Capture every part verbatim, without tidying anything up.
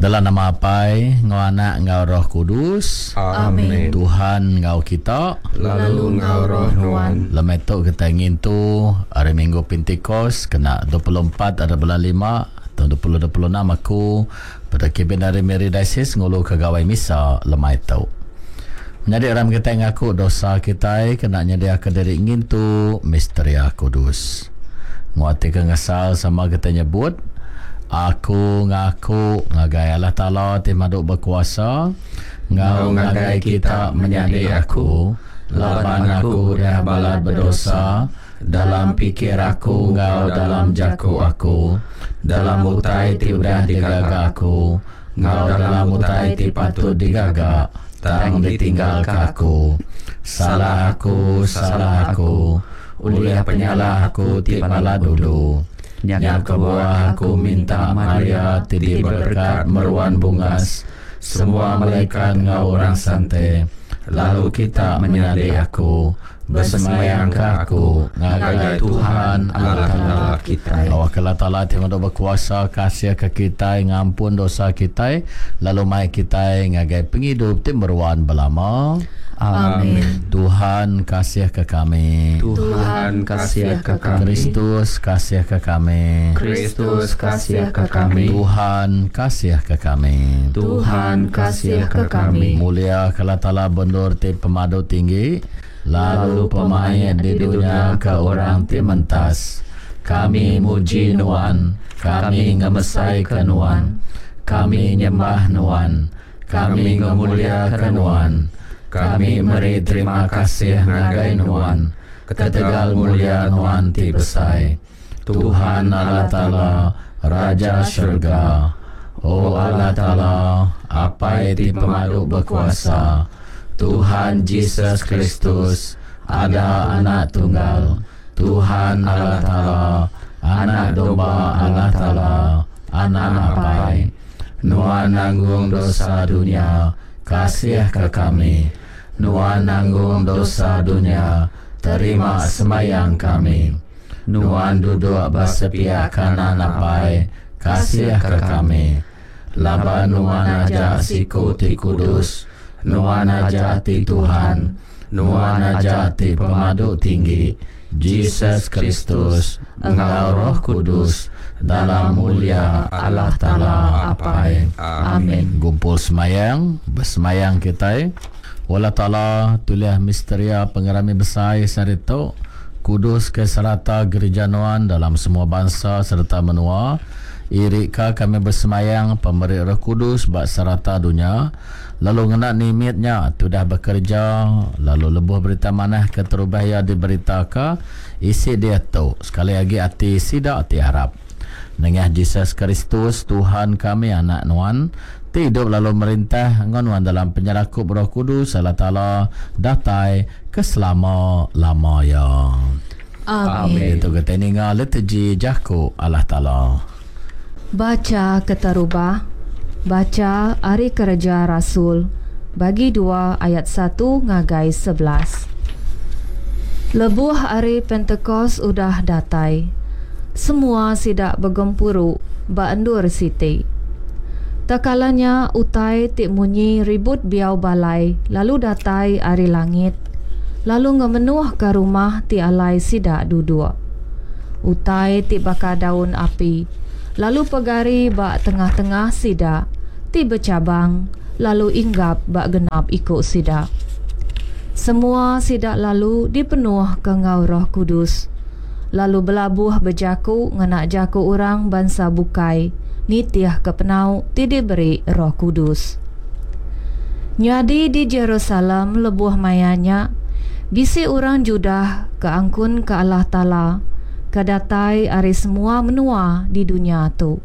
Dalam nama Apai, enggau Anak, enggau Roh Kudus. Amin. Tuhan enggau kita. Lalu enggau roh nuan. Lemai tu kita ngintu hari Minggu Pentikos kena dua puluh empat hari bulan lima tahun dua ribu dua puluh enam aku pada kibin dari Miri Diocese ngulu ke gawai misa lemai tu. Menyadi ram kita ngaku dosa kita kena nyediakan diri ngintu misteria kudus. Nguati ke ngesal sama kita nyebut aku ngaku ngagai Allah Taala ti madu berkuasa ngau ngagai kita menyadi aku laban aku udah balat berdosa dalam pikir aku ngau dalam jaku aku dalam utai ti udah digaga aku ngau dalam utai ti patut digaga tang ditinggalkan aku. Salah aku, salah aku, ulih penyalah aku ti balat dulu. Nya kebuah aku minta Maria ti diberkat meruan bungas, semua malaikat ngau orang sante, lalu kita menyadi aku, bersemayang ke aku ngagai Tuhan Allah Taala kita. Allah Allah Taala ti madu berkuasa kasih ke kita ngampun dosa kita, lalu mai kita ngagai penghidup ti meruan belama. Amin. Tuhan kasih ke kami. Tuhan kasih ke kami. Kristus kasih ke kami. Kristus kasih ke kami. Tuhan kasih ke kami. Tuhan kasih ke kami. Mulia ke Allah Taala bendur ti pemadu tinggi, lalu pemain di dunia ke orang ti mentas. Kami muji nuan, kami ngemesai ke nuan, kami nyembah nuan, kami ngemulia ke nuan, kami meri terima kasih ngagai nuan, ketegal mulia nuan ti besai. Tuhan Allah Taala, Raja Syurga, O Allah Taala, Apai ti pemadu berkuasa, Tuhan Jesus Kristus, ada anak tunggal, Tuhan Allah Taala, anak domba Allah Taala, anak Apai, nuan nanggung dosa dunia, kasih ke kami. Nuan nanggung dosa dunia, terima semayang kami. Nuan duduk bersepiak kanan Apai, kasih ke kami. Laban nuan aja siku ti kudus, nuan aja ti Tuhan, nuan aja ti pemadu tinggi, Jesus Kristus, enggau Roh Kudus, dalam mulia Allah Taala Apai. Amin. Gumpul semayang, bersemayang kita. Allah Taala tuliah misteria pengerami besar sehari tu, kudus ke serata gereja nuan dalam semua bangsa serta menua. Irika kami bersemayang pemeri Roh Kudus bak serata dunia, lalu ngena nimitnya sudah bekerja, lalu lebuh berita manah ke terubah ia diberitakan isi dia tu sekali lagi hati sidak ti harap. Nengah Jesus Kristus Tuhan kami anak nuan ti hidup lalu merintah enggau nuan dalam penyerakup Roh Kudus Allah Taala datai ke selama-lama ya. Amin. Itu kita ninga liturgi jaku Allah Taala. Baca keterubah, baca Hari Kerja Rasul bagi dua ayat satu ngagai sebelas. Lebuh hari Pentecost udah datai, semua sidak begempuru ba endur siti. Tekalanya utai ti munyi ribut biau balai lalu datai ari langit, lalu ngemenuh ke rumah ti alai sidak duduk. Utai ti baka daun api lalu pegari ba tengah-tengah sidak ti bercabang lalu inggap ba genap ikut sidak. Semua sidak lalu dipenuh ke ngau Roh Kudus, lalu belabuh berjaku ngena jaku orang bangsa bukai nitih ke penau ti diberi Roh Kudus. Nyadi di Jerusalem lebuh mayanya bisi orang Judah ke angkun ke Allah Taala ke datai ari semua menua di dunia tu.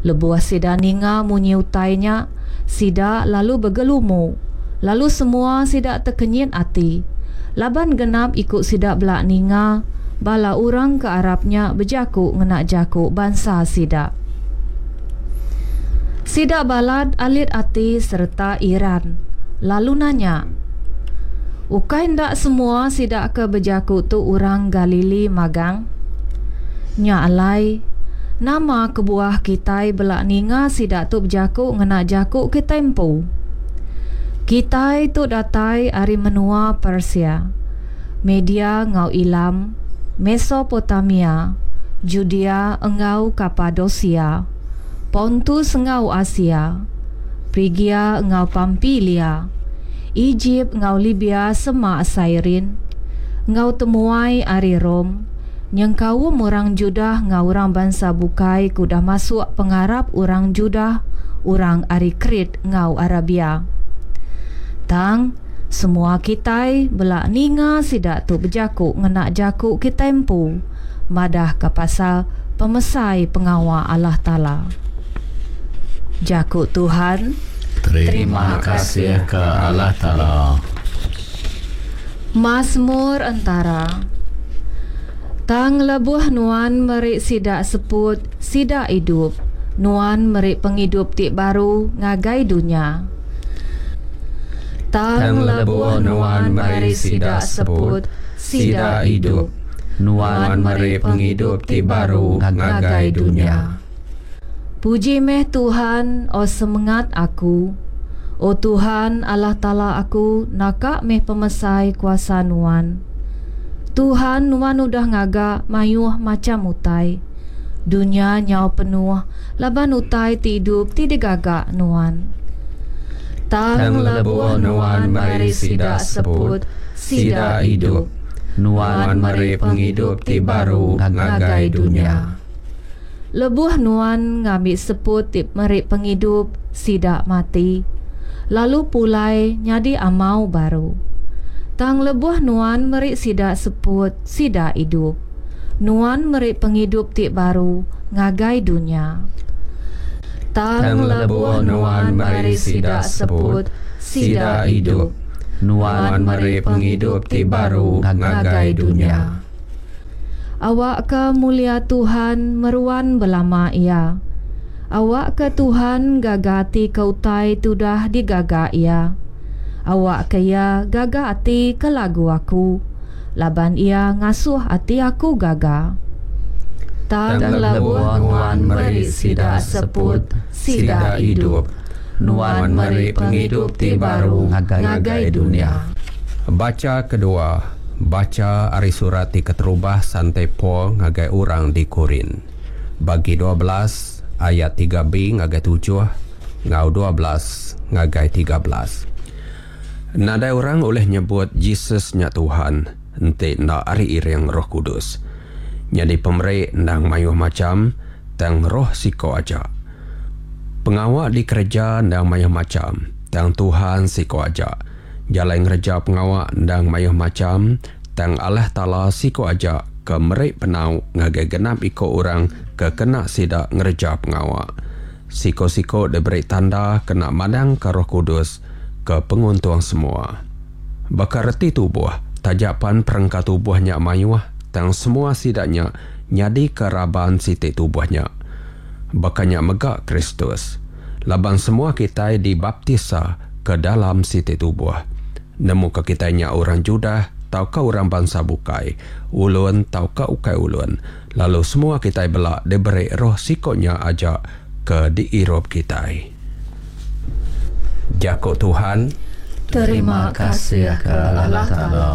Lebuh sida ninga munyi utainya, sida lalu bergelumu, lalu semua sida terkenyit ati, laban genap ikut sida belak ninga bala orang ke Arabnya berjaku ngena jaku bangsa sida. Sida balad alit ati serta iran, lalu nanya, ukai ndak semua sida ke berjaku tu orang Galili magang? Nya alai, Nama kebuah kitai bela ninga sida tu bejaku ngena jaku kitai empu? Kitai tu datai ari menua Persia, Media enggau Elam, Mesopotamia, Judea enggau Kapadosia, Pontus enggau Asia, Prigia enggau Pampilia, Ejip enggau Libia semak Sairin, enggau temuai ari Rome, nyengkaum orang Judah enggau orang bansa bukai ke udah masuk pengarap orang Judah, orang ari Krit enggau Arabia. Tang, semua kitai bela ninga sida tu bejaku ngena jaku kitai empu madahka pasal pemesai pengawa Allah Taala. Jaku Tuhan. Terima kasih ke Allah Taala. Masmur entara. Tang lebuh nuan meri sida seput, sida idup. Nuan meri pengidup ti baru ngagai dunya. Tang lebuh nuan meri sida seput, sida idup. Nuan meri pengidup ti baru ngagai dunya. Puji meh Tuhan, o semengat aku. O Tuhan Allah Taala aku, naka meh pemesai kuasa Nuan. Tuhan, Nuan udah ngaga mayuh macham utai. Dunya nyau penuh laban utai ti idup ti digaga Nuan. Tang lebuh Nuan meri sida seput, sida idup. Nuan meri pengidup ti baru ngagai dunya. Lebuh Nuan ngambi seput ti meri pengidup, sida mati, lalu pulai nyadi amau baru. Tang lebuh Nuan meri sida seput, sida idup. Nuan meri pengidup ti baru ngagai dunya. Tang lebuh Nuan meri sida seput, sida idup. Nuan meri pengidup ti baru ngagai dunya. Awakka mulia Tuhan meruan belama iya. Awakka Tuhan gaga ati ke utai ti udah digaga Iya. Awakka Iya gaga ati ke lagu aku, laban Iya ngasuh ati aku gaga. Tang lebuh Nuan meri sida seput, sida idup. Nuan meri pengidup ti baru ngagai dunya. Bacha kedua, bacha ari surat ti keterubah Sante Paul ngagai orang di Korin. Bagi dua belas ayat tiga B ngagai tujuh ngau dua belas ngagai tiga belas. Nadai orang oleh nyebut Jesus nya Tuhan enti enda ari iring Roh Kudus. Jadi pemeri endang mayuh macam tang roh siko aja. Pengawa dikerja endang mayuh macam tang Tuhan siko aja. Jalai ngereja pengawa endang mayuh macam tang Allah Taala siko aja ke meri penau ngagai genap iko orang ke kena sida ngereja pengawa. Siko-siko diberi tanda kena madang ke Roh Kudus ke penguntung semua. Baka reti tubuh, tajapan perengka tubuhnya mayuh, tang semua sidaknya nyadi ke raban siti tubuhnya. Bakanya mega Kristus. Laban semua kita dibaptisa ke dalam siti tubuh. Nemu ke kitanya orang Judah, tau ke orang bangsa bukai, ulun tau ke ukai ulun. Lalu semua kita belak diberi roh sikoknya aja ke diirup kita. Jaku Tuhan. Terima kasih ke Allah Taala.